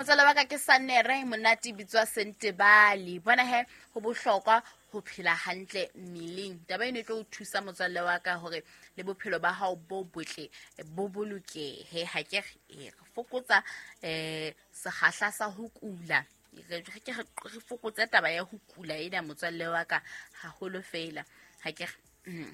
Motswala wa ka ke Sanere monate bitswa Sentebale. Bona he ho bohlokwa ho phela hantle mmeleng. Taba eno e tlo o thusa motswalle wa ka hore le bophelo ba hao bo botle bo bolokehe. Ha ke re fokotsa sekgahla sa ho kula. Re ke re fokotse taba ya ho kula ena motswalle wa ka haholo feela. Ha ke re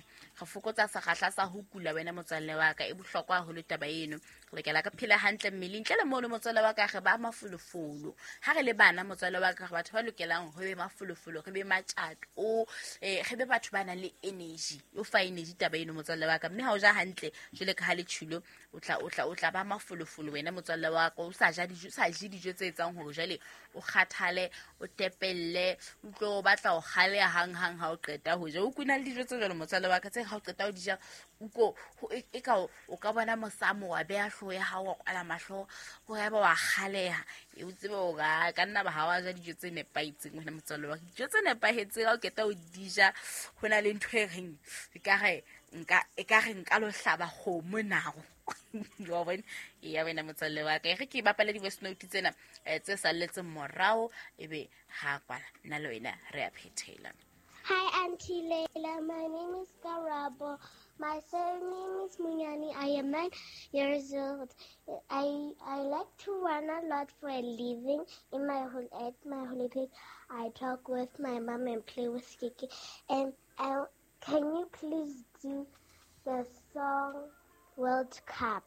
fokotsa sekgahla sa ho kula wena motswalle wa ka, e bohlokwa haholo taba eno. Re lokela re phele hantle mmeleng. Ntle le mono motswalle wa ka re ba mafolofolo. Ha re le bana motswalle wa ka re batho ba lokelang re be mafolofolo, re be matjato, re be batho ba nang le energy. O fa energy taba eno motswalle wa ka. Mme ha o ja hantle jwale ka ha le tjhilo, o tla ba mafolofolo wena motswalle wa ka. O sa ja dijo, o sa je dijo tse etsang hore jwale o kgathale, o tepelle, o tlo o batla ho kgaleha hang-hang ha o qeta ho ja. O kuna le dijo tse jwalo motswalle wa ka, tse ha o qeta ho di ja, uko, ho, e, e ka o, o ka bona mosamo wa beha hlooho ya hao, wa kwala mahlo, o ya ba wa kgaleha. E o tsebe hore a ka nna ba ha wa ja dijo tse nepahetseng wena motswalle wa ka. Dijo tse nepahetseng ha o qeta ho di ja, ho na le ntho e reng, ekare nka lo hlaba kgomo nao. Wa bona? Eya wena motswalle wa ka. E re ke bapale di-voice note tsena, tse salletseng morao, ebe ha kwala nna le wena re a phethela. Hi, Auntie Leila. My name is Karabo. My surname is Munyani. I am 9 years old. I like to run a lot for a living. At my holidays, I talk with my mom and play with Kiki. And can you please do the song World Cup?